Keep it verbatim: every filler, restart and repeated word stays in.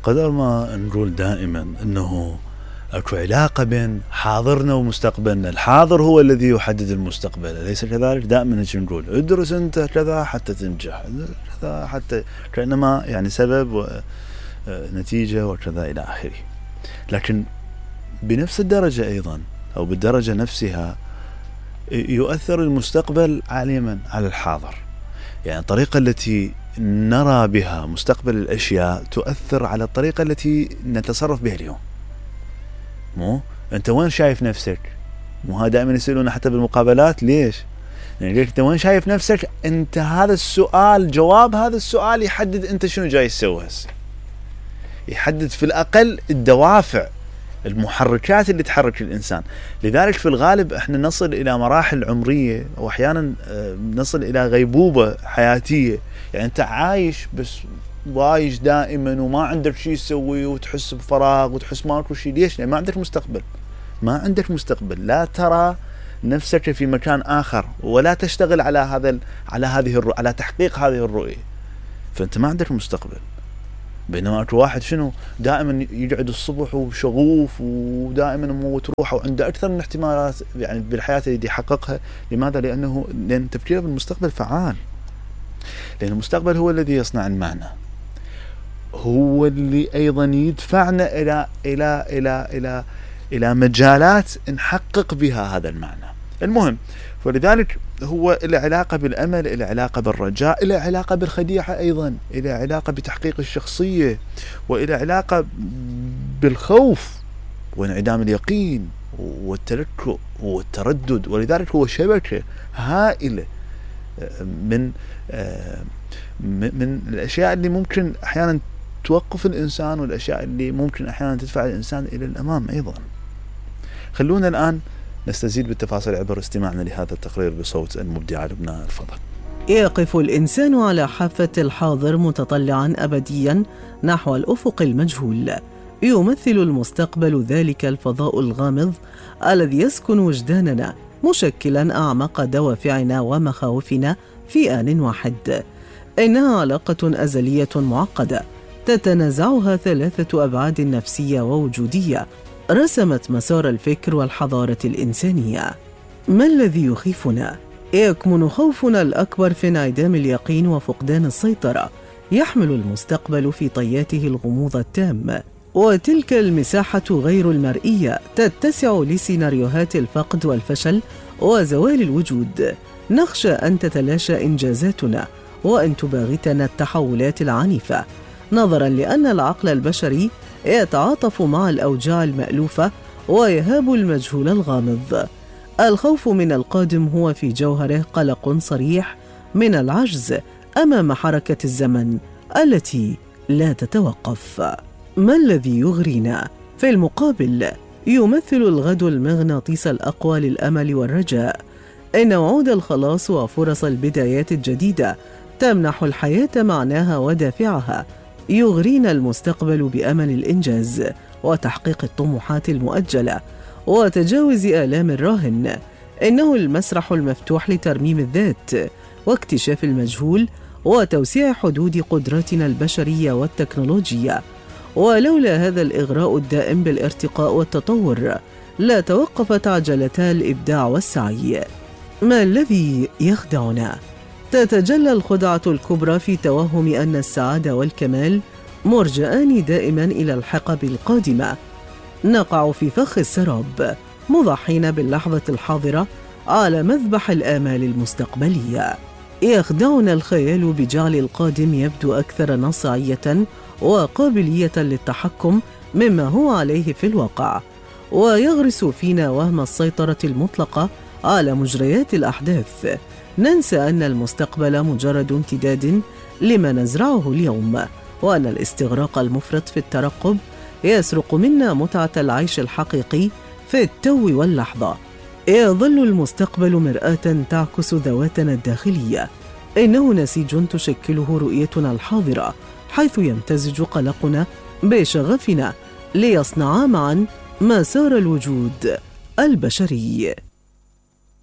قدر ما نقول دائما أنه أكو علاقة بين حاضرنا ومستقبلنا. الحاضر هو الذي يحدد المستقبل، أليس كذلك؟ دائما نجي نقول ادرس أنت كذا حتى تنجح، كذا حتى كأنما يعني سبب ونتيجة وكذا إلى آخره. لكن بنفس الدرجة أيضا أو بالدرجة نفسها يؤثر المستقبل عاليا على الحاضر. يعني الطريقة التي نرى بها مستقبل الأشياء تؤثر على الطريقة التي نتصرف بها اليوم. مو أنت وين شايف نفسك؟ مو هذا دائما يسألون حتى بالمقابلات، ليش؟ يعني أنت وين شايف نفسك؟ أنت هذا السؤال، جواب هذا السؤال يحدد أنت شنو جاي تسوي هسه، يحدد في الأقل الدوافع، المحركات اللي تحرك الإنسان. لذلك في الغالب احنا نصل إلى مراحل عمرية وأحيانا نصل إلى غيبوبة حياتية. يعني أنت عايش بس وايش دائما وما عندك شيء تسوي وتحس بفراغ وتحس ماكو شيء. ليش؟ لأن ما عندك مستقبل، ما عندك مستقبل، لا ترى نفسك في مكان آخر ولا تشتغل على هذا على هذه الرؤية، على تحقيق هذه الرؤية، فأنت ما عندك مستقبل. بينما اكو واحد شنو دائما يقعد الصبح وشغوف ودائما موت روحه وعنده اكثر من احتمالات يعني بالحياه اللي يحققها. لماذا؟ لانه لان تفكيره بالمستقبل فعال، لان المستقبل هو الذي يصنع المعنى، هو اللي ايضا يدفعنا الى الى الى الى الى مجالات نحقق بها هذا المعنى. المهم، فلذلك هو له علاقة بالأمل، له علاقة بالرجاء، له علاقة بالخديعة أيضا، له علاقة بتحقيق الشخصية، وله علاقة بالخوف وانعدام اليقين والتلكؤ والتردد. ولذلك هو شبكة هائلة من من الأشياء اللي ممكن أحيانا توقف الإنسان، والأشياء اللي ممكن أحيانا تدفع الإنسان إلى الأمام أيضا. خلونا الآن نستزيد بالتفاصيل عبر استماعنا لهذا التقرير بصوت المبدعة لبنى الفضل. يقف الإنسان على حافة الحاضر متطلعاً أبدياً نحو الأفق المجهول. يمثل المستقبل ذلك الفضاء الغامض الذي يسكن وجداننا، مشكلاً أعمق دوافعنا ومخاوفنا في آن واحد. إنها علاقة أزلية معقدة تتنازعها ثلاثة أبعاد نفسية ووجودية رسمت مسار الفكر والحضارة الإنسانية. ما الذي يخيفنا؟ يكمن خوفنا الأكبر في انعدام اليقين وفقدان السيطرة. يحمل المستقبل في طياته الغموض التام، وتلك المساحة غير المرئية تتسع لسيناريوهات الفقد والفشل وزوال الوجود. نخشى أن تتلاشى إنجازاتنا وأن تباغتنا التحولات العنيفة، نظراً لأن العقل البشري يتعاطف مع الأوجاع المألوفة ويهاب المجهول الغامض. الخوف من القادم هو في جوهره قلق صريح من العجز أمام حركة الزمن التي لا تتوقف. ما الذي يغرينا؟ في المقابل يمثل الغد المغناطيس الأقوى للأمل والرجاء. إن وعود الخلاص وفرص البدايات الجديدة تمنح الحياة معناها ودافعها. يغرينا المستقبل بأمل الإنجاز وتحقيق الطموحات المؤجلة وتجاوز آلام الراهن. إنه المسرح المفتوح لترميم الذات واكتشاف المجهول وتوسيع حدود قدراتنا البشرية والتكنولوجية. ولولا هذا الإغراء الدائم بالارتقاء والتطور لا توقفت عجلتا الإبداع والسعي. ما الذي يخدعنا؟ تتجلى الخدعة الكبرى في توهم أن السعادة والكمال مرجآن دائما إلى الحقب القادمة. نقع في فخ السراب مضحين باللحظة الحاضرة على مذبح الآمال المستقبلية. يخدعنا الخيال بجعل القادم يبدو أكثر نصعية وقابلية للتحكم مما هو عليه في الواقع، ويغرس فينا وهم السيطرة المطلقة على مجريات الأحداث. ننسى أن المستقبل مجرد امتداد لما نزرعه اليوم، وأن الاستغراق المفرط في الترقب يسرق منا متعة العيش الحقيقي في التو واللحظة. يظل المستقبل مرآة تعكس ذواتنا الداخلية. إنه نسيج تشكله رؤيتنا الحاضرة، حيث يمتزج قلقنا بشغفنا ليصنعا معا مسار الوجود البشري.